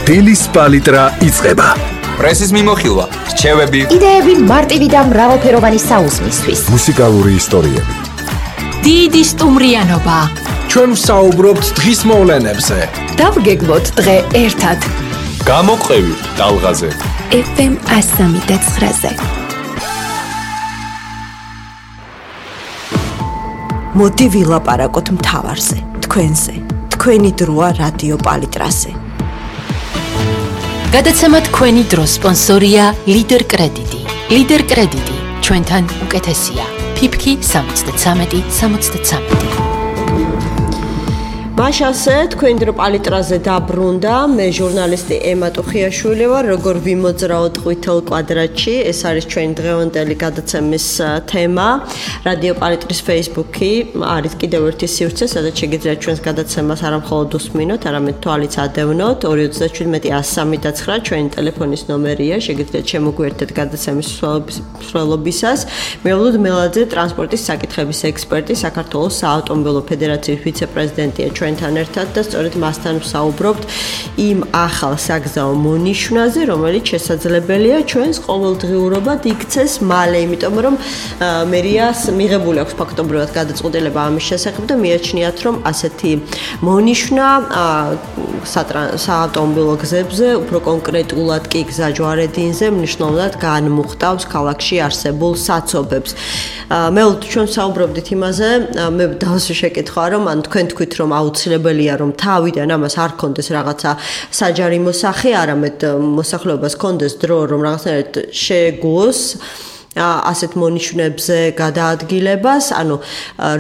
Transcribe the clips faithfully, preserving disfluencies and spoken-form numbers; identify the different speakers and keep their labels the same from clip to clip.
Speaker 1: დილის პალიტრა იწყება.
Speaker 2: პრესის მიმოხილვა, რჩევები,
Speaker 3: იდეები მარტივი და მრავალფეროვანი საუზმისთვის.
Speaker 1: მუსიკალური ისტორიები.
Speaker 4: დიდი სტუმრიანობა.
Speaker 5: ჩვენ ვსაუბრობთ დღის მოვლენებზე.
Speaker 4: დავგეგმოთ დღე ერთად.
Speaker 2: გამოყევით ტალღაზე.
Speaker 4: ეფ ემ one oh three point nine-ზე.
Speaker 6: მოდი ვილაპარაკოთ მთავარზე, თქვენზე. თქვენი დროა რადიო პალიტრაზე.
Speaker 4: გადაცემა თქვენი დრო სპონსორია ლიდერ კრედიტი. ლიდერ კრედიტი ჩვენთან უკეთესია. ფიფკი სამოცდათრამეტი სამოცდათრამეტი.
Speaker 6: მაშასე თქვენ დრო პალიტრაზე დაბრუნდა. მე ჟურნალისტი ემა ტუხიაშვილი ვარ. როგორ ვიმოძრაოთ ყვითელ კვადრატში. ეს არის ჩვენი დღევანდელი გადაცემის თემა. რადიო პალიტრის Facebook-ი არის კიდევ ერთი სივრცე, სადაც შეგიძლიათ ჩვენს გადაცემას არა მხოლოდ უსმინოთ, არამედ თვალიც ადევნოთ. ორი ოცდაშვიდი one oh three nine ჩვენი ტელეფონის ნომერია. შეგიძლიათ შემოგვიერთდეთ გადაცემის მსვლელობისას. მეულოდ მელაძე, ტრანსპორტის საკითხების ექსპერტი, საქართველოს საავტომობილო ფედერაციის ვიცე-პრეზიდენტია ჩვენთან ერთად და სწორედ მასთან ვსაუბრობთ იმ ახალ საგზაო მონიშვნაზე, რომელიც შესაძლებელია ჩვენს ყოველდღიურობად იქცეს მალე, იმიტომ რომ მერიას მიღებული აქვს ფაქტობრივად გადაწყვეტილება ამის შესახებ და მიაჩნიათ, რომ ასეთი მონიშნა საავტომობილო გზებზე, უფრო კონკრეტულად კი გზაჯვარედინზე მნიშვნელოვნად განმუხტავს ქალაქში არსებულ საცობებს. მე ჩვენ ვსაუბრობდით იმაზე, მე დავსვი შეკითხვა, რომ ან თქვენ თქვით, რომ აუცილებელია, რომ თავიდან ამას არ ქონდეს რაღაცა საჯარიმო სახე, არამედ მოსახლეობას ქონდეს დრო, რომ რაღაცნაირად შეგუოს ასეთ მონიშნებზე გადაადგილებას, ანუ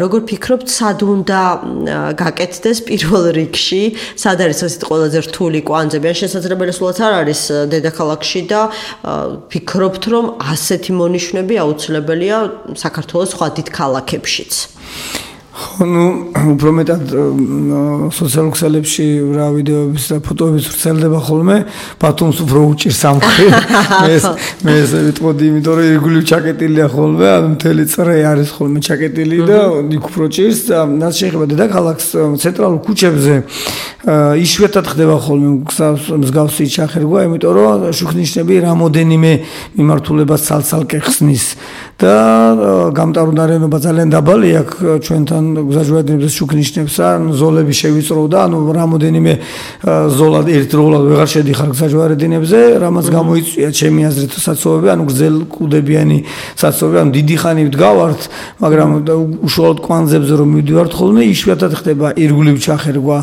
Speaker 6: როგორ ფიქრობთ, სად უნდა გაკეთდეს პირველ რიგში, სად არის ასეთ ყველაზე რთული კვანძები, ან შესაძლებელი სულაც არ არის დედაქალაქში და ფიქრობთ, რომ ასეთი მონიშნები აუცილებელია საქართველოს სხვა დიდ ქალაქებშიც?
Speaker 7: ну, უფრო მეტად სოციალურ ქსელებში რა ვიდეოების და ფოტოების ვრცელდება ხოლმე, ბათუმს უფრო უჭირს ამხრივ. მე მე ესე ვიტყოდი, იმიტომ რომ ირგვლივ ჩაკეტილია ხოლმე, ანუ მთელი წრე არის ხოლმე ჩაკეტილი და იქ უფრო ჭირს და რაც შეიძლება დედაქალაქს ცენტრალურ ქუჩებზე იშვიათად ხდება ხოლმე მსგავსი ჩახერგვა, იმიტომ რომ შუქნიშნები რამოდენიმე მიმართულებას ცალ-ცალკე ხსნის და გამტარუნარენობა ძალიან დაბალი აქვს ჩვენთან გზაჯვარედინების შუქნიშნებს, ან ზოლები შევიწროვდა, ანუ რამოდენიმე ზოლა ერთდროულად ვეღარ შედიხარ გზაჯვარედინებზე, რამაც გამოიწვია ჩემი აზრით საცობები, ანუ გრძელკუდებიანი საცობები, ანუ დიდი ხანი ვდგავართ, მაგრამ უშუალოდ კვანძებზე რომ მივდივართ ხოლმე, იშვიათად ხდება ირგვლივ ჩახერგვა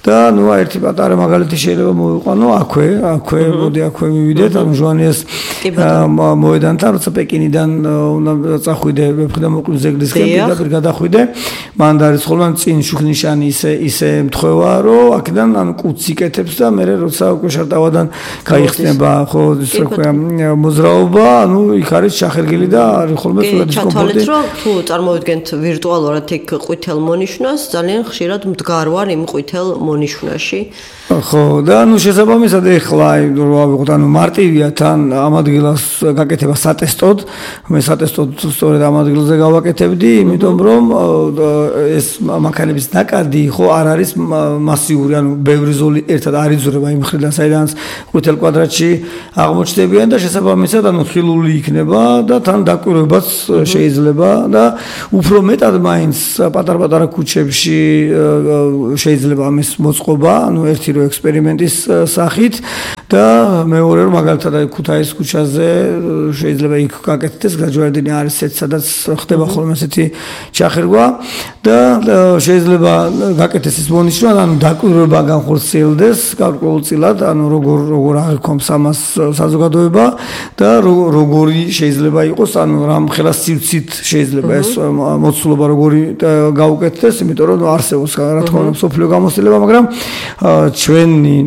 Speaker 7: და ну ერთი პატარა მაგალითი შეიძლება მოვიყვანო აქვე, აქვე, მოდი აქვე მივიდეთ, ანუ ჟვანიას მოედანთან, როცა პეკინიდან უნდა წახვიდე, ვეფხი და მოკლი ზეგლისკენ პირდაპირ გადახვიდე, მან და არის ხოლმე წინ შუქნიშანი ისე ისე მთხვევა, რომ აქედან ანუ კუც იკეთებს და მე როცა უკვე შარტავადან გაიხსნება, ხო, ის რა ქვია, მოძრაობა, ანუ იქ არის ჩახერგილი და არის ხოლმე სულ დისკომფორტი.
Speaker 6: ჩათვალეთ, რომ თუ წარმოვიდგენთ ვირტუალურად იქ ყვითელ მონიშნას, ძალიან ხშირად მდგარ ვარ იმ ყვითელ მონიშნაში.
Speaker 7: ხო, და ნუ შესაბამისად ეხლა რო ავიღოთ, ანუ მარტივია თან ამ ადგილას გაკეთება სატესტოდ, მე სატესტოდ სწორედ ამ ადგილზე გავაკეთებდი, იმიტომ რომ ეს მანქანების ნაკადი ხო არ არის მასიური, ანუ ბევრი ზოლი ერთად არ იზრდება იმ მხრიდან, საიდანაც ყვითელ კვადრატში აღმოჩნდებიან და შესაბამისად ანუ ხილული იქნება და თან დაკვირვებაც შეიძლება და უფრო მეტად მაინც პატარ-პატარა ქუჩებში შეიძლება ამის მოწყობა, ანუ ერთი რო ექსპერიმენტის სახით და მეორე რომ მაგალითად ქუთაისის ქუჩაზე შეიძლება იქ გაკეთდეს გზაჯვარედინი არის ეს სადაც ხდება ხოლმე ესეთი ჩახერგვა და შეიძლება გაკეთდეს ის მონიშნა, ანუ დაკვირვება განხორციელდეს გარკვეულწილად, ანუ როგორ როგორ აღიქომს ამას საზოგადოება და როგორი შეიძლება იყოს, ანუ რამ ხელას სივრცით შეიძლება ეს მოცულობა როგორი გაუკეთდეს, იმიტომ რომ არსებობს რა თქმა უნდა სოფლიო გამოცდილება, მაგრამ ჩვენი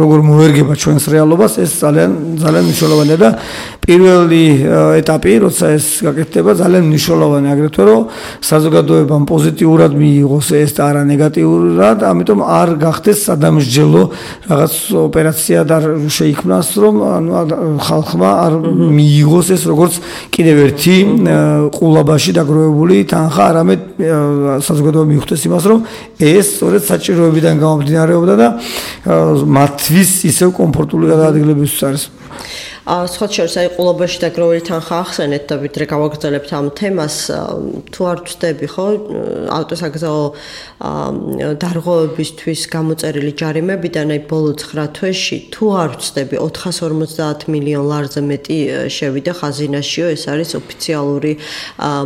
Speaker 7: როგორ მოერგება ჩვენ ჩვენს რეალობას ეს ძალიან ძალიან მნიშვნელოვანია და პირველი ეტაპი როცა ეს გაკეთდება ძალიან მნიშვნელოვანია აგრეთვე რომ საზოგადოებამ პოზიტიურად მიიღოს ეს და არა ნეგატიურად ამიტომ არ გახდეს სადამსჯელო რაღაც ოპერაცია და შეიქმნას რომ ანუ ხალხმა არ მიიღოს ეს როგორც კიდევ ერთი ყულაბაში დაგროვებული თანხა არამედ საზოგადოება მიხვდეს იმას რომ ეს სწორედ საჭიროებიდან გამომდინარეობდა და მათთვის ისევ კომფორტული გადაადგილებისთვის არის
Speaker 6: სხვა შორის აი ყულობაში დაგროვილი თანხა ახსენეთ და ვიდრე გავაგრძელებთ ამ თემას თუ არ ვწდები ხო ავტოსაგზაო დარღვევებისთვის გამოწერილი ჯარიმებიდან აი ბოლო ცხრა თვეში თუ არ ვწდები ოთხას ორმოცდაათ მილიონ ლარზე მეტი შევიდა ხაზინაშიო ეს არის ოფიციალური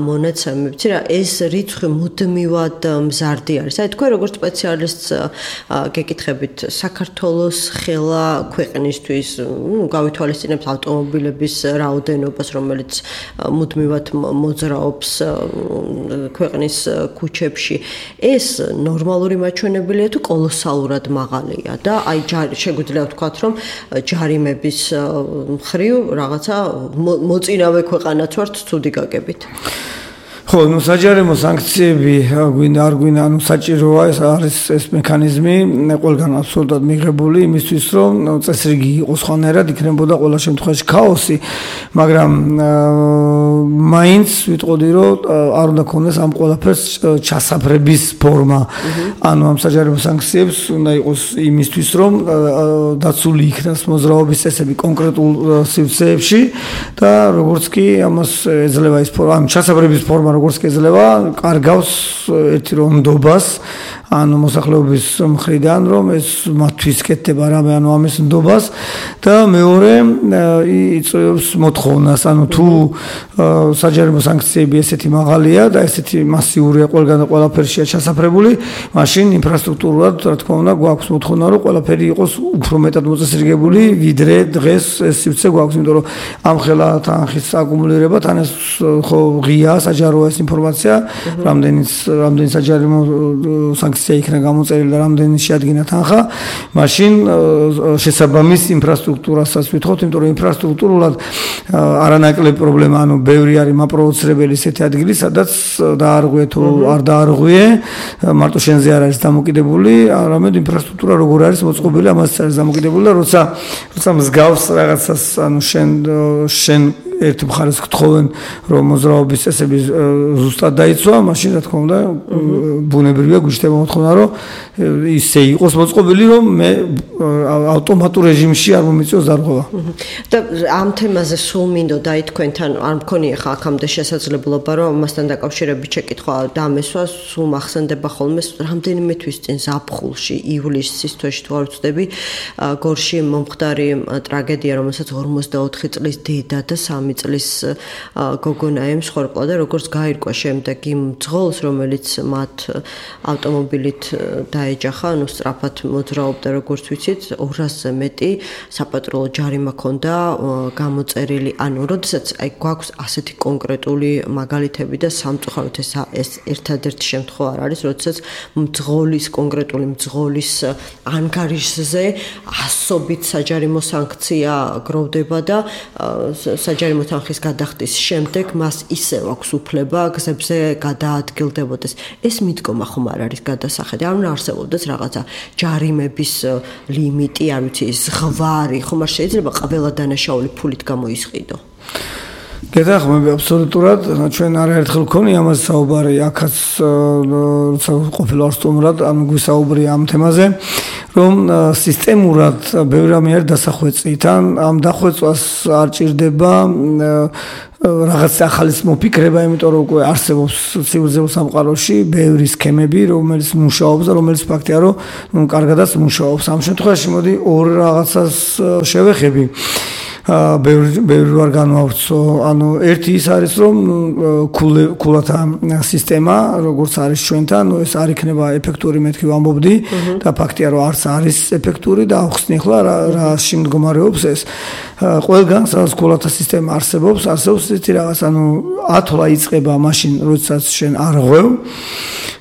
Speaker 6: მონაცემი ვიცი რა ეს რიცხვი მუდმივად მზარდი არის აი თქვენ როგორც სპეციალისტს გეკითხებით საქართველოს ხელა ქვეყნისთვის ნუ გავითვალისწინებთ ავტომობილების რაოდენობას, რომელიც მუდმივად მოძრაობს ქვეყნის ქუჩებში. ეს ნორმალური მაჩვენებელია თუ კოლოსალურად მაღალია და აი შეგვიძლია ვთქვათ, რომ ჯარიმების მხრივ რაღაცა მოწინავე ქვეყანაც ვართ ცუდი გაგებით.
Speaker 7: ხო, ну საჯარიმო სანქციები გვინდა არ გვინდა, ანუ საჭიროა ეს არის ეს მექანიზმი ყველგან აბსოლუტურად მიღებული იმისთვის, რომ წესრიგი იყოს ხანერად, იქნებოდა ყველა შემთხვევაში ქაოსი, მაგრამ მაინც ვიტყოდი, რომ არ უნდა ქონდეს ამ ყველაფერს ჩასაფრების ფორმა. ანუ ამ საჯარიმო სანქციებს უნდა იყოს იმისთვის, რომ დაცული იქნას მოძრაობის წესები კონკრეტულ სივრცეებში და როგორც კი ამას ეძლევა ის ფორმა, ამ ჩასაფრების ფორმა როგორც კეძლება კარგავს ერთი რომ ნდობას ანუ მოსახლეობის მხრიდან რომ ეს მათთვის კეთდება რამე ანუ ამის ნდობას და მეორე იწევს მოთხოვნას ანუ თუ საჯარიმო სანქციები ესეთი მაღალია და ესეთი მასიურია ყველგან და ყველაფერშია ჩასაფრებული მაშინ ინფრასტრუქტურულად რა თქმა უნდა გვაქვს მოთხოვნა რომ ყველაფერი იყოს უფრო მეტად მოწესრიგებული ვიდრე დღეს ეს სივრცე გვაქვს იმიტომ რომ ამ ხელა თანხის აკუმულირება თან ეს ხო ღია საჯაროა ეს ინფორმაცია რამდენი რამდენი საჯარიმო სანქცია იქნა გამოწერილი და რამდენი შეადგინა თანხა მაშინ შესაბამის ინფრასტრუქტურასაც ვითხოვთ იმიტომ რომ ინფრასტრუქტურულად არანაკლები პრობლემა ანუ ბევრი არის მაპროვოცირებელი ესეთი ადგილი სადაც დაარღვე თუ არ დაარღვე მარტო შენზე არ არის დამოკიდებული არამედ ინფრასტრუქტურა როგორ არის მოწყობილი ამას არის დამოკიდებული და როცა როცა მსგავს რაღაცას ანუ შენ შენ ერთ მხარეს გთხოვენ რომ მოძრაობის წესები ზუსტად დაიცვა, მაშინ რა თქმა უნდა ბუნებრივია გვიჩნდება მოთხოვნა რომ ისე იყოს მოწყობილი რომ მე ავტომატურ რეჟიმში არ მომიწევს დარღვევა.
Speaker 6: და ამ თემაზე სულ მინდოდა აი თქვენთან არ მქონია ხა აქამდე შესაძლებლობა რომ ამასთან დაკავშირებით შეკითხვა დამესვა სულ მახსენდება ხოლმე რამდენიმე თვის წინ ზაფხულში ივლისის თვეში თუ არ ვწდები გორში მომხდარი ტრაგედია რომელსაც ორმოცდაოთხი წლის დედა და სამი წლის გოგონა ემსხვერპლა და როგორც გაირკვა შემდეგ იმ ძღოლს რომელიც მათ ავტომობილით დაეჯახა ანუ სწრაფად მოძრაობდა როგორც ვიცით ორასზე მეტი საპატრულო ჯარიმა ჰქონდა გამოწერილი ანუ როდესაც აი გვაქვს ასეთი კონკრეტული მაგალითები და სამწუხაროდ ეს ეს ერთადერთი შემთხვევა არ არის როდესაც მძღოლის კონკრეტული მძღოლის ანგარიშზე ასობით საჯარიმო სანქცია გროვდება და საჯარიმო მოთანხის გადახდის შემდეგ მას ისევ აქვს უფლება გზებზე გადაადგილდებოდეს. ეს მიდგომა ხომ არ არის გადასახედი. არ უნდა არსებობდეს რაღაცა ჯარიმების ლიმიტი, არ ვიცი, ზღვარი, ხომ არ შეიძლება ყველა დანაშაული ფულით გამოისყიდო.
Speaker 7: გეთახმები აბსოლუტურად ჩვენ არაერთხელ გქონია ამაზე საუბარი აქაც როცა ყოფილა სტუმრად ანუ გვისაუბრია ამ თემაზე რომ სისტემურად ბევრი რამე არის დასახვეწით ან ამ დახვეწვას არ ჭირდება რაღაც ახალის მოფიქრება იმიტომ რომ უკვე არსებობს ცივილიზებულ სამყაროში ბევრი სქემები რომელიც მუშაობს და რომელიც ფაქტია რომ ნუ კარგადაც მუშაობს ამ შემთხვევაში მოდი ორ რაღაცას შევეხები ბევრი ბევრი ვარ განვავრცო ანუ ერთი ის არის რომ ქულათა სისტემა როგორც არის ჩვენთან ეს არ იქნება ეფექტური მეთქი ვამბობდი და ფაქტია რომ არც არის ეფექტური და ახსნი ახლა რა შემდგომარეობს ეს ყველგან სადაც ქულათა სისტემა არსებობს არსებობს ისეთი რაღაც ანუ ათვლა იწყება მაშინ როდესაც შენ არ ღვევ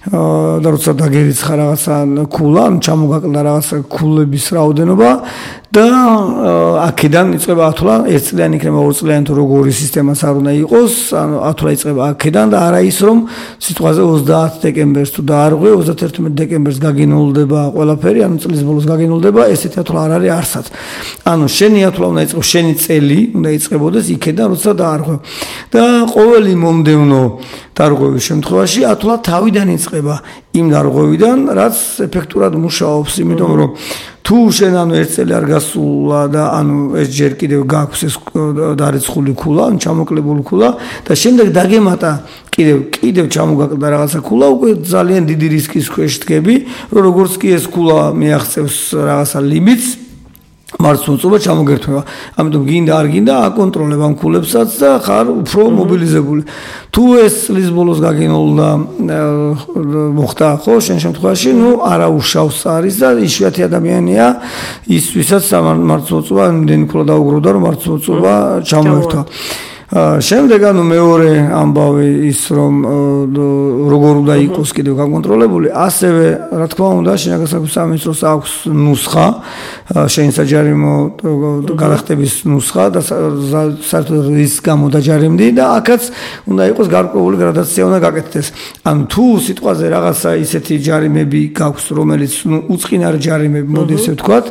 Speaker 7: და როცა დაგერიცხა რაღაცა ქულა, ან ჩამოგაკლდა რაღაცა ქულების რაოდენობა და აქედან იწყება ათვლა, ერთწლიანი იქნება, ორწლიანი თუ როგორი სისტემაც არ უნდა იყოს, ანუ ათვლა იწყება აქედან და არა ის რომ სიტყვაზე ოცდაათ დეკემბერს თუ დაარღვე, ოცდაათი დეკემბერს გაგინულდება ყველაფერი, ანუ წლის ბოლოს გაგინულდება, ესეთი ათვლა არ არის არსად. ანუ შენი ათვლა უნდა იწყოს, შენი წელი უნდა იწყებოდეს იქედან, როცა დაარღვე. და ყოველი მომდევნო დარღვევის შემთხვევაში ათვლა თავიდან იწყება იმ დარღვევიდან, რაც ეფექტურად მუშაობს, იმიტომ რომ თუ შენ ანუ ერთ წელი არ გასულა და ანუ ეს ჯერ კიდევ გაქვს ეს დარიცხული ქულა, ან ჩამოკლებული ქულა და შემდეგ დაგემატა კიდევ კიდევ ჩამოგაკლდა რაღაცა ქულა, უკვე ძალიან დიდი რისკის ქვეშ დგები, რომ როგორც კი ეს ქულა მიაღწევს რაღაცა ლიმიტს მარცხნივ ჩამოგერთვება. ამიტომ გინდა არ გინდა აკონტროლებ ამ ქულებსაც და ხარ უფრო მობილიზებული. თუ ეს წლის ბოლოს გაგინულდა მოხდა ხო შენ შემთხვევაში, ნუ არა უშავს არის და იშვიათი ადამიანია ის ვისაც მარცხნივ იმდენი ქულა დაუგროვდა რომ მარცხნივ ჩამოერთვა. შემდეგ ანუ მეორე ამბავი ის რომ როგორ უნდა იყოს კიდევ გაკონტროლებული, ასევე რა თქმა უნდა შინაგანსაკუთრების სამინისტროს აქვს ნუსხა, შენი საჯარიმო გადახდების ნუსხა და საერთოდ რის გამო დაჯარიმდი და აქაც უნდა იყოს გარკვეული გრადაცია უნდა გაკეთდეს. ანუ თუ სიტყვაზე რაღაცა ისეთი ჯარიმები გაქვს, რომელიც ნუ უწყინარი ჯარიმები, მოდი ესე ვთქვათ,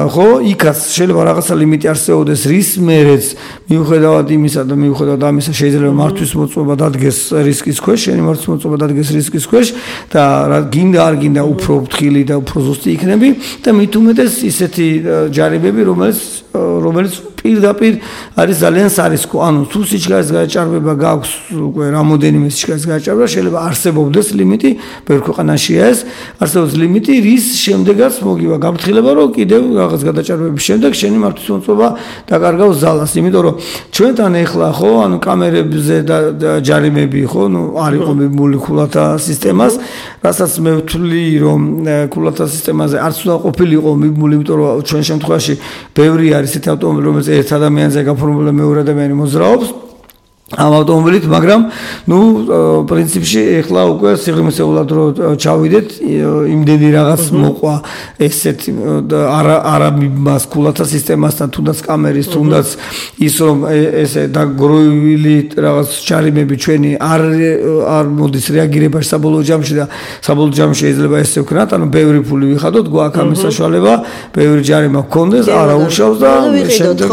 Speaker 7: ხო, იქაც შეიძლება რაღაცა ლიმიტი არსებობდეს, რის მერეც მიუხედავად იმის და მიუხედავად ამისა შეიძლება მართვის მოწმობა დადგეს რისკის ქვეშ, შენი მართვის მოწმობა დადგეს რისკის ქვეშ და გინდა არ გინდა უფრო ფრთხილი და უფრო ზუსტი იქნები და მით უმეტეს ისეთი ჯარიმები, რომელიც რომელიც პირდაპირ არის ძალიან სარისკო. ანუ თუ სიჩქარის გაჭარბება გაქვს უკვე რამოდენიმე სიჩქარის გაჭარბება, შეიძლება არსებობდეს ლიმიტი, ბევრ ქვეყანაშია ეს, არსებობს ლიმიტი, რის შემდეგაც მოგივა გაფრთხილება, რომ კიდევ რაღაც გადაჭარბების შემდეგ შენი მართვის მოწმობა დაკარგავს ზალას, იმიტომ რომ ჩვენთან ეხლა ხო, ანუ კამერებზე და ჯარიმები ხო, ნუ არ იყო მიბმული ქულათა სისტემას, რასაც მე ვთვლი რომ ქულათა სისტემაზე არც უნდა ყოფილიყო მიბმული, იმიტომ რომ ჩვენ შემთხვევაში ბევრი არის ესეთი ავტომობილი, რომელიც ერთ ადამიანზე გაფორმებული და მეორე ადამიანი მოძრაობს ამ ავტომობილით, მაგრამ ნუ პრინციპში ეხლა უკვე სიღრმისეულად რო ჩავიდეთ, იმდენი რაღაც მოყვა ესეთ არა არა მას ქულათა სისტემასთან, თუნდაც კამერის, თუნდაც ის რომ ესე დაგროვილი რაღაც ჯარიმები ჩვენი არ არ მოდის რეაგირებაში საბოლოო ჯამში და საბოლოო ჯამში შეიძლება ესე ვქნათ, ანუ ბევრი ფული ვიხადოთ, გვაქვს ამის საშუალება, ბევრი ჯარიმა გქონდეს, არა უშავს და შემდეგ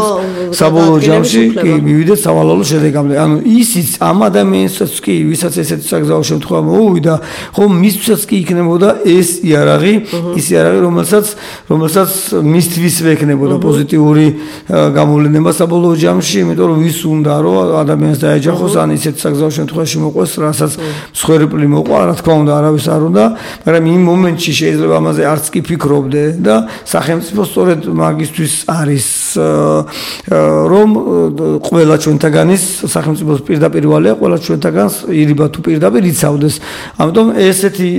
Speaker 7: საბოლოო ჯამში კი მივიდეთ სავალალო შედეგამდე. ანუ ისიც ამ ადამიანსაც კი, ვისაც ესეთი საგზაო შემთხვევა მოუვიდა, ხო მისთვისაც კი იქნებოდა ეს იარაღი, ის იარაღი, რომელსაც რომელსაც მისთვისვე ექნებოდა პოზიტიური გამოვლენა საბოლოო ჯამში, იმიტომ რომ ვის უნდა რომ ადამიანს დაეჯახოს, ან ისეთ საგზაო შემთხვევაში მოყვეს, რასაც მსხვერპლი მოყვა, რა თქმა უნდა, არავის არ უნდა, მაგრამ იმ მომენტში შეიძლება ამაზე არც კი ფიქრობდე და სახელმწიფო სწორედ მაგისთვის არის რომ ყველა ჩვენთაგანის სახელმწიფო პირდაპირ ვალია, ყველა ჩვენთაგანს ირიბა თუ პირდაპირ იცავდეს. ამიტომ ესეთი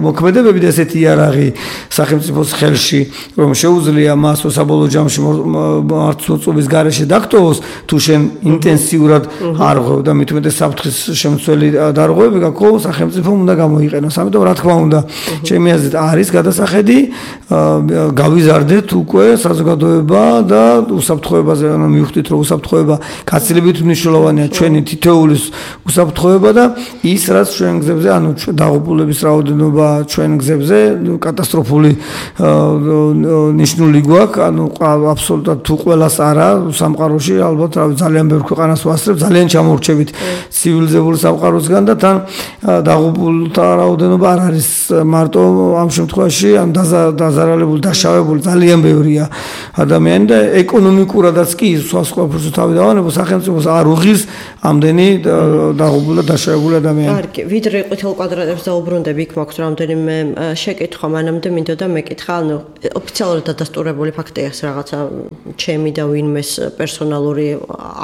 Speaker 7: მოქმედებები და ესეთი იარაღი სახელმწიფოს ხელში, რომ შეუძლია მას საბოლოო ჯამში მართლმოწმობის გარეშე დაგტოვოს, თუ შენ ინტენსიურად არღვევ და მით უმეტეს საფრთხის შემცველი დარღვევები გაქვს, სახელმწიფომ უნდა გამოიყენოს. ამიტომ რა თქმა უნდა, ჩემი აზრით არის გადასახედი გავიზარდეთ უკვე საზოგადოება და უსაფრთხოებაზე, ანუ მივხვდით, რომ უსაფრთხოება გაცილებით მნიშვნელოვანია ჩვენი თითოეულის უსაფრთხოება და ის რაც ჩვენ გზებზე, ანუ დაღუპულების რაოდენობა ჩვენ გზებზე კატასტროფული ნიშნული გვაქვს, ანუ აბსოლუტურად თუ ყველას არა სამყაროში, ალბათ ძალიან ბევრ ქვეყანას ვასწრებ, ძალიან ჩამორჩებით ცივილიზებული სამყაროსგან და თან დაღუპულთა რაოდენობა არ არის მარტო ამ შემთხვევაში, ან დაზარალებული, დაშავებული ძალიან ბევრია ადამიანი და ეკონომიკურადაც კი სხვა სხვა ფორმაში თავი დავანებო, სახელმწიფოს არ უღირს ამდენი დაღუპული და დაშავებული ადამიანი.
Speaker 6: კარგი, ვიდრე ყვითელ კვადრატებს დაუბრუნდები, იქ მაქვს რამდენიმე შეკითხვა, მანამდე მინდოდა მეკითხა, ანუ ოფიციალურად დადასტურებული ფაქტია ეს რაღაცა ჩემი და ვინმეს პერსონალური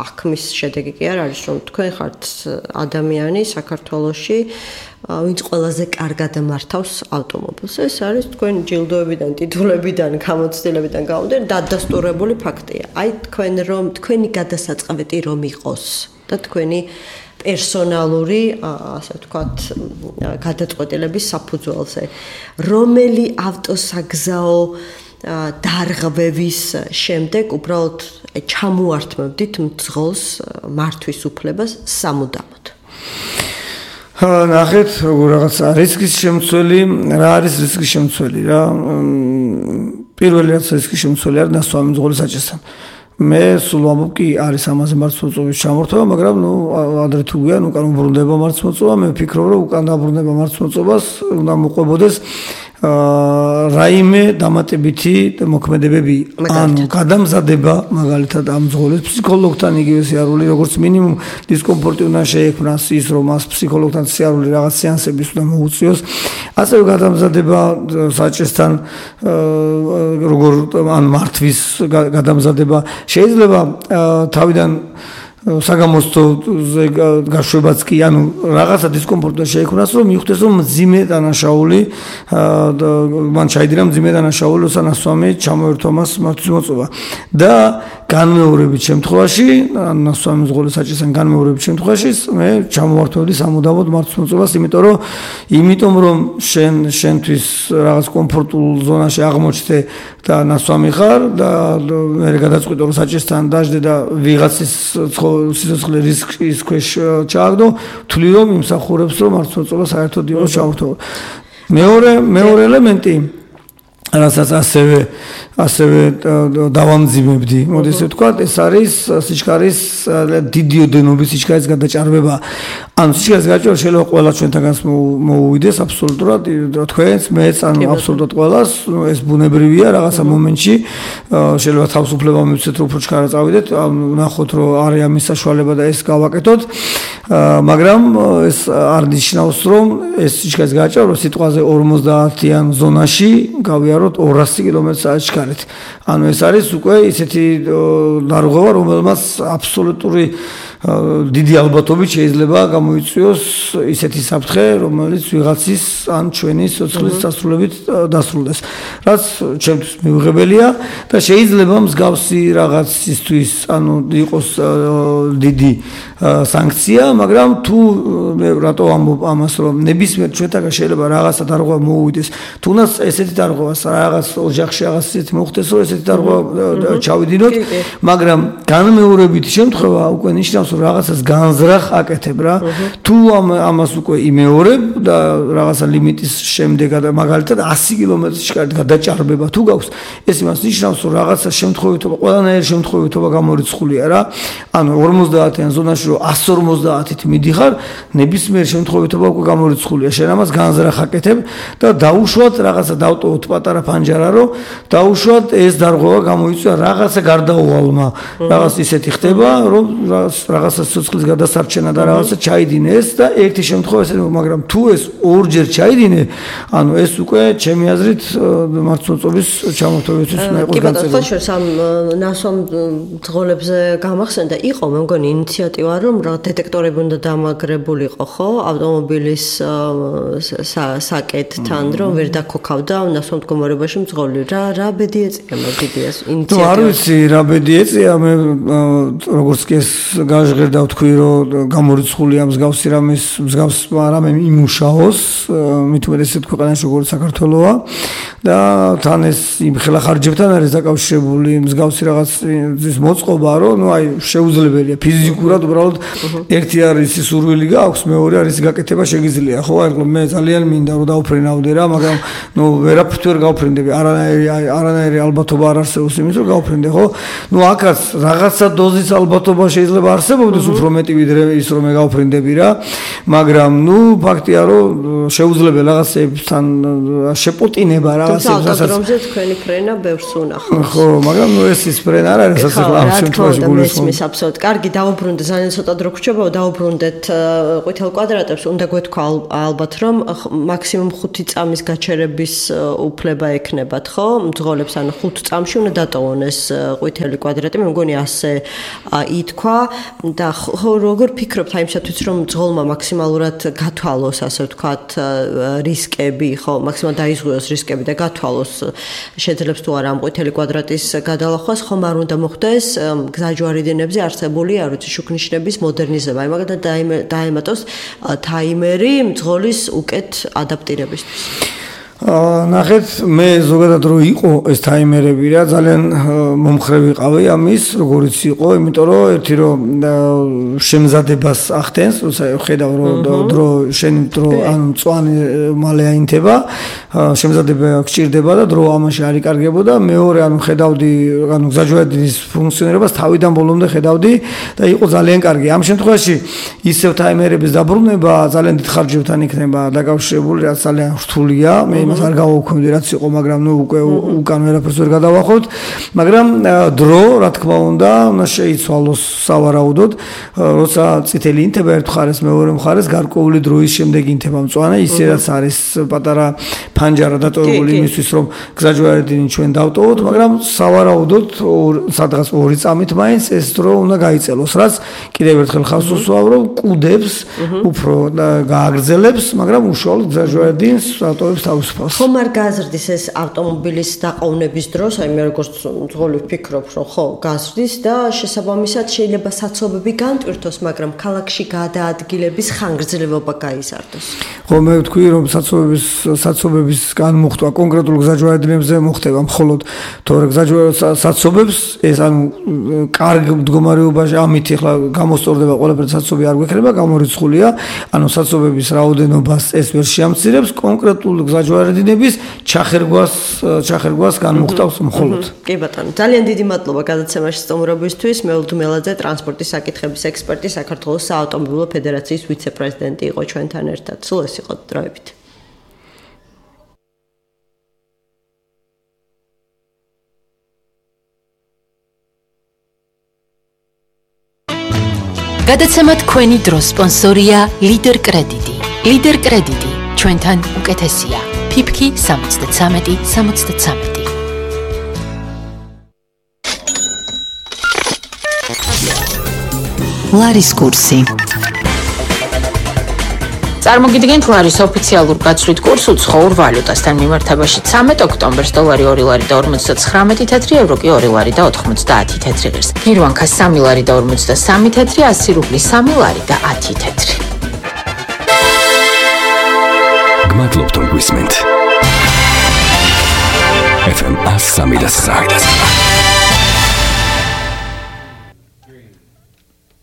Speaker 6: აღქმის შედეგი კი არ არის, რომ თქვენ ხართ ადამიანი საქართველოში, ვინც ყველაზე კარგად მართავს ავტომობილს. ეს არის თქვენ ჯილდოებიდან, ტიტულებიდან, გამოცდილებიდან გამომდინარე დადასტურებული ფაქტია. აი თქვენ რომ თქვენი გადასაწყობი რომ იყოს და თქვენი პერსონალური, ასე ვთქვათ, გადაწყვეტილების საფუძველზე. რომელი ავტოსაგზაო დარღვევის შემდეგ უბრალოდ ჩამოართმევდით მძღოლს მართვის უფლებას სამუდამოდ.
Speaker 7: ნახეთ, რაღაც რისკის შემცველი, რა არის რისკის შემცველი რა? პირველი რაც რისკის შემცველი არის ნასვამი მძღოლის საჭესთან. მე სულ ვამბობ კი არის ამაზე მართლმოწმობის ჩამორთვა, მაგრამ ნუ ადრე თუ გვიან უკან უბრუნდება მართლმოწმობა, მე ვფიქრობ, რომ უკან დაბრუნდება მართლმოწმობას უნდა მოყვებოდეს რაიმე დამატებითი მოქმედებები, ანუ გადამზადება მაგალითად ამ მძღოლის ფსიქოლოგთან იგივე სიარული, როგორც მინიმუმ დისკომფორტი უნდა შეექმნას ის, რომ მას ფსიქოლოგთან სიარული რაღაც სეანსების უნდა მოუწიოს, ასევე გადამზადება საჭესთან როგორ ან მართვის გადამზადება შეიძლება თავიდან საგამოსწორზე გაშვებაც კი, ანუ რაღაცა დისკომფორტი შეექმნას, რომ მიხვდეს, რომ მძიმე დანაშაული მან ჩაიდინა მძიმე დანაშაული, ოსანასვამი ჩამოერთვა მას მართვის მოწობა. და განმეორებით შემთხვევაში, ან ნასვამი მძღოლის საჭესთან განმეორებით შემთხვევაში, მე ჩამოვართვევდი სამუდამოდ მართვის მოწობას, იმიტომ რომ იმიტომ რომ შენ შენთვის რაღაც კომფორტულ ზონაში აღმოჩნდე და ნასვამი ხარ და მე გადაწყვიტე რომ საჭესთან დაждდე და ვიღაცის სიცოცხლე რისკის ქვეშ ჩააგდო, თვლი რომ იმსახურებს რომ მართლმოწმობა საერთოდ იყოს ჩამორთული. მეორე მეორე ელემენტი რასაც ასევე ასევე დავამძიმებდი, მოდი ესე ვთქვათ, ეს არის სიჩქარის დიდი ოდენობის სიჩქარის გადაჭარბება. ანუ სიჩქარის გადაჭარბება შეიძლება ყველა ჩვენთანაც მოუვიდეს აბსოლუტურად, თქვენს, მეც, ანუ აბსოლუტურად ყველას, ეს ბუნებრივია რაღაცა მომენტში, შეიძლება თავისუფლება მივცეთ, რომ უფრო ჩქარა წავიდეთ, ნახოთ, რომ არის ამის საშუალება და ეს გავაკეთოთ, მაგრამ ეს არ ნიშნავს, რომ ეს სიჩქარის გადაჭარბება სიტყვაზე ორმოცდაათიან ზონაში გავიაროთ ორასი კილომეტრ საათში. ანუ ეს არის უკვე ისეთი დარღვევა, რომელმაც აბსოლუტური დიდი ალბათობით შეიძლება გამოიწვიოს ისეთი საფრთხე, რომელიც ვიღაცის ან ჩვენი სიცოცხლის დასრულებით დასრულდეს. რაც ჩემთვის მიუღებელია და შეიძლება მსგავსი რაღაცისთვის, ანუ იყოს დიდი სანქცია, მაგრამ თუ მე რატო ამბობ ამას, რომ ნებისმიერ ჩვენთაგან შეიძლება რაღაცა დარღვევა მოუვიდეს, თუნდაც ესეთი დარღვევას რაღაც ოჯახში რაღაც ისეთი მოხდეს, რომ ესეთი დარღვევა ჩავიდინოთ, მაგრამ განმეორებითი შემთხვევა უკვე ნიშნავს რაღაცას განზრახ აკეთებ რა. თუ ამას უკვე იმეორებ და რაღაცა ლიმიტის შემდეგ მაგალითად ასი კილომეტრის გადაჭარბება თუ გაქვს, ეს იმას ნიშნავს, რომ რაღაცა შემთხვევითობა, ყველანაირი შემთხვევითობა გამორიცხულია რა. ანუ ორმოცდაათიან ზონაში რომ ასი ორმოცდაათით მიდიხარ, ნებისმიერ შემთხვევითობა უკვე გამორიცხულია. შენ ამას განზრახ აკეთებ და დაუშვათ რაღაცა დავტოვოთ პატარა ფანჯარა, რომ დაუშვათ ეს დარღვევა გამოიწვია რაღაცა გარდაუვალმა. რაღაც ისეთი ხდება, რომ რაღაცა სიცოცხლის გადასარჩენა და რაღაცა ჩაიდინე ეს და ერთი შემთხვევა ესე, მაგრამ თუ ეს ორჯერ ჩაიდინე, ანუ ეს უკვე ჩემი აზრით მართლმოწმობის ჩამორთვებისთვის უნდა იყოს განცდილი. კი, ბატონო,
Speaker 6: სამ ნასვამ მძღოლებზე გამახსენდა, იყო მე მგონი ინიციატივა, რომ რა დეტექტორები უნდა დამაგრებულიყო, ხო, ავტომობილის საკეთთან, რომ ვერ დაქოქავდა ნასვამ მდგომარეობაში მძღოლი. რა რა ბედი ეწია მე დიდიას ინიციატივა.
Speaker 7: ნუ არ ვიცი რა ბედი ეწია, მე როგორც კი ეს გაჟღერდა ვთქვი, რომ გამორიცხულია მსგავსი რამის მსგავს რამე იმუშაოს, მით უმეტესად ქვეყანაში როგორც საქართველოა და თან ეს იმ ხელახარჯებთან არის დაკავშირებული მსგავსი რაღაცის მოწყობა, რომ ნუ აი შეუძლებელია ფიზიკურად უბრალოდ ერთი არის ის სურვილი გაქვს, მეორე არის გაკეთება შეგიძლია, ხო? აი მე ძალიან მინდა რომ დავფრინავდე რა, მაგრამ ნუ ვერაფრით ვერ გავფრინდები, არანაირი არანაირი ალბათობა არ არსებობს იმის, რომ გავფრინდე, ხო? ნუ აქაც რაღაცა დოზის ალბათობა შეიძლება არსებობდეს, უფრო მეტი ვიდრე ის რომ მე გავფრინდები რა, მაგრამ ნუ ფაქტია რომ შეუძლებელი რაღაცებთან შეპოტინება რაღაცებს,
Speaker 6: რასაც რომზე თქვენი ფრენა ბევრს უნახავს.
Speaker 7: ხო, მაგრამ ნუ ეს ის ფრენა არ არის ასე ამ შემთხვევაში
Speaker 6: გულისხმობს. აბსოლუტურად. კარგი, დავუბრუნდეთ, ძალიან ცოტა დრო გრჩება, დავუბრუნდეთ ყვითელ კვადრატებს, უნდა გვეთქვა ალბათ რომ მაქსიმუმ ხუთი წამის გაჩერების უფლება ექნებათ, ხო? მძღოლებს ან ხუთ წამში უნდა დატოვონ ეს ყვითელი კვადრატი, მე მგონი ასე ითქვა. და როგორ ფიქრობთ აი იმისათვის რომ ძღოლმა მაქსიმალურად გათვალოს ასე ვთქვათ რისკები ხო მაქსიმალურად დაიზღვიოს რისკები და გათვალოს შეძლებს თუ არა ამ ყვითელი კვადრატის გადალახვას ხომ არ უნდა მოხდეს გზაჯვარედინებზე არსებული არ ვიცი შუქნიშნების მოდერნიზება აი მაგალითად დაემატოს თაიმერი მძღოლის უკეთ ადაპტირებისთვის
Speaker 7: ნახეთ მე ზოგადად რო იყო ეს თაიმერები რა ძალიან მომხრე ვიყავი ამის როგორიც იყო იმიტომ რომ ერთი რომ შემზადებას ახდენს როცა ხედავ რომ დრო შენი დრო ანუ მწვანე მალე აინთება შემზადება გჭირდება და დრო ამაში არ იკარგებოდა მეორე ანუ ხედავდი ანუ გზაჯვარედინის ფუნქციონირებას თავიდან ბოლომდე ხედავდი და იყო ძალიან კარგი ამ შემთხვევაში ისევ თაიმერების დაბრუნება ძალიან დიდ ხარჯებთან იქნება დაკავშირებული რაც ძალიან რთულია მე იმას არ გავაუქმდი რაც იყო მაგრამ ნუ უკვე უკან ვერაფერს ვერ გადავახოთ მაგრამ დრო რა თქმა უნდა უნდა შეიცვალოს სავარაუდოდ როცა წითელი ინთება ერთ მხარეს მეორე მხარეს გარკვეული დროის შემდეგ ინთება მწვანე ისე რაც არის პატარა ფანჯარა დატოვებული იმისთვის რომ გზაჯვარედინი ჩვენ დავტოვოთ მაგრამ სავარაუდოდ სადღაც ორი წამით მაინც ეს დრო უნდა გაიწელოს რაც კიდევ ერთხელ ხავს უსვავ რომ კუდებს უფრო გააგრძელებს მაგრამ უშუალოდ გზაჯვარედინს ავტოვებს თავისუფალს
Speaker 6: ხომ არ გაზრდის ეს ავტომობილის დაყოვნების დროს აი მე როგორც ძღოლი ვფიქრობ რომ ხო გაზრდის და შესაბამისად შეიძლება საცობები განტვირთოს მაგრამ ქალაქში გადაადგილების ხანგრძლივობა გაიზარდოს
Speaker 7: ხო მე ვთქვი რომ საცობების საცობების განმუხტვა კონკრეტულ გზაჯვარედინებზე მოხდება მხოლოდ თორე გზაჯვარედინს ეს ანუ კარგ მდგომარეობაში ამით ახლა გამოსწორდება ყველაფერი საცობი არ გვექნება გამორიცხულია ანუ საცობების რაოდენობას ეს ვერ შეამცირებს კონკრეტულ გზაჯვარედინების ჩახერგვას ჩახერგვას განმუხტავს მხოლოდ
Speaker 6: კი ბატონო ძალიან დიდი მადლობა გადაცემაში სტუმრობისთვის მეულთ მელაძე ტრანსპორტის საკითხების ექსპერტი საქართველოს საავტომობილო ფედერაციის ვიცე-პრეზიდენტი იყო ჩვენთან ერთად სულ ეს იყო დროებით
Speaker 4: გადაცემა თქვენი დროს სპონსორია ლიდერ კრედიტი ლიდერ კრედიტი ჩვენთან უკეთესია ფიფკი სამოცდათრამეტი სამოცდათრამეტი ლარის კურსი წარმოგიდგენთ ლარის ოფიციალურ გაცვლით კურს უცხოურ ვალუტასთან მიმართებაში ცამეტ ოქტომბერს დოლარი ორი ლარი და ორმოცდათხრამეტი თეთრი ევრო კი ორი ლარი და ოთხმოცდაათი თეთრი ღირს გირვანქა სამი ლარი და ორმოცდასამი თეთრი ასი რუბლი სამი ლარი და ათი თეთრი
Speaker 1: გმადლობთ რომ გვისმენთ ეფ ემ სამი და სამი